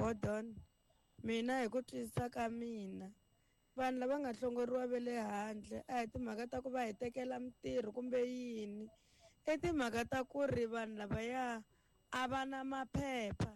Bodon, mina hi ku twisisa ka mina, vanhu lava nga hlongoriwa ve le handle a hi timhaka ta ku va hi tekela mintirho kumbe yini, i timhaka ta ku ri vanhu lavaya a va na maphepha,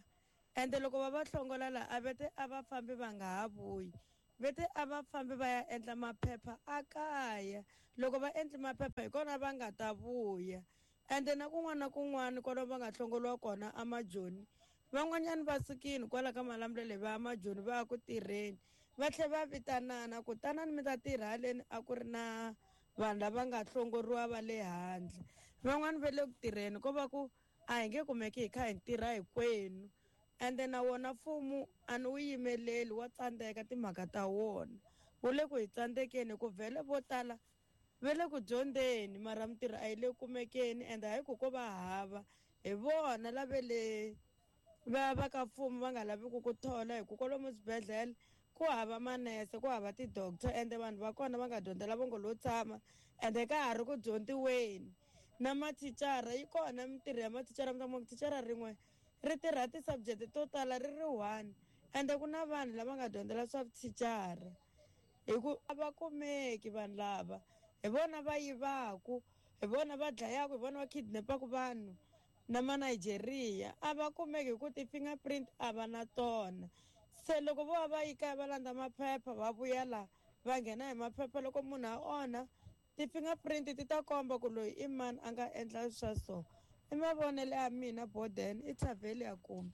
ende loko va va hlongola laha a ve te a va fambi va nga ha vuyi, ve te a va fambi va ya endla maphepha a kaya. Loko va endli maphepha hi kona va nga ta vuya. Ende na kun'wana na kun'wana kwalomu va nga hlongoliwa kona amajoni, van'wanyana va sukile kwala ka Malamulele va ya majoni va ya ku tirheni, va tlhela va vitanana ku tanani mi ta tirha haleni, a ku ri na vanhu lava nga hlongoriwa va le handle. Van'wani va le ku tirheni ko va ku a hi nge kumeki hi kha hi tirha hinkwenu. Ende na wona mfumo a ni wu yimeleli, wa tsandzeka timhaka ta wona, wu le ku hi tsandzekeni hi ku vhele vo tala va le ku dyondzeni, mara mintirho a yi le kumekeni. Ende hayi ku ko va hava, hi vona lava le va va ka mfumo va nga laviki ku thola, hi ku kwalomu swibedhlele ku hava manese, ku hava ti-doctor, ende vanhu va kona va nga dyondzela vo ngo lo tshama, ende ka ha ri ku dyondziweni. Na mathicara yi kona mintirho ya mathicara, mi ta kuma ku thicara rin'we ri tirha ti-subject to tala ri ri one, ende ku na vanhu lava nga dyondzela swa vuthicara, hi ku a va kumeki vanhu lava, hi vona va yivaku, hi vona va dlayaku, hi vona va kidnapaku vanhu na ma Nigeria, a va kumeki hi ku ti-fingerprint a va na tona. Se loko vo va va yi kaya va landza maphepha va vuya laha va nghena hi maphepha, loko munhu a onha ti-fingerprint ti ta komba ku loyi i mani a nga endla swa so. I mavonelo ya mina, Boden i Thavheli ya kumbe.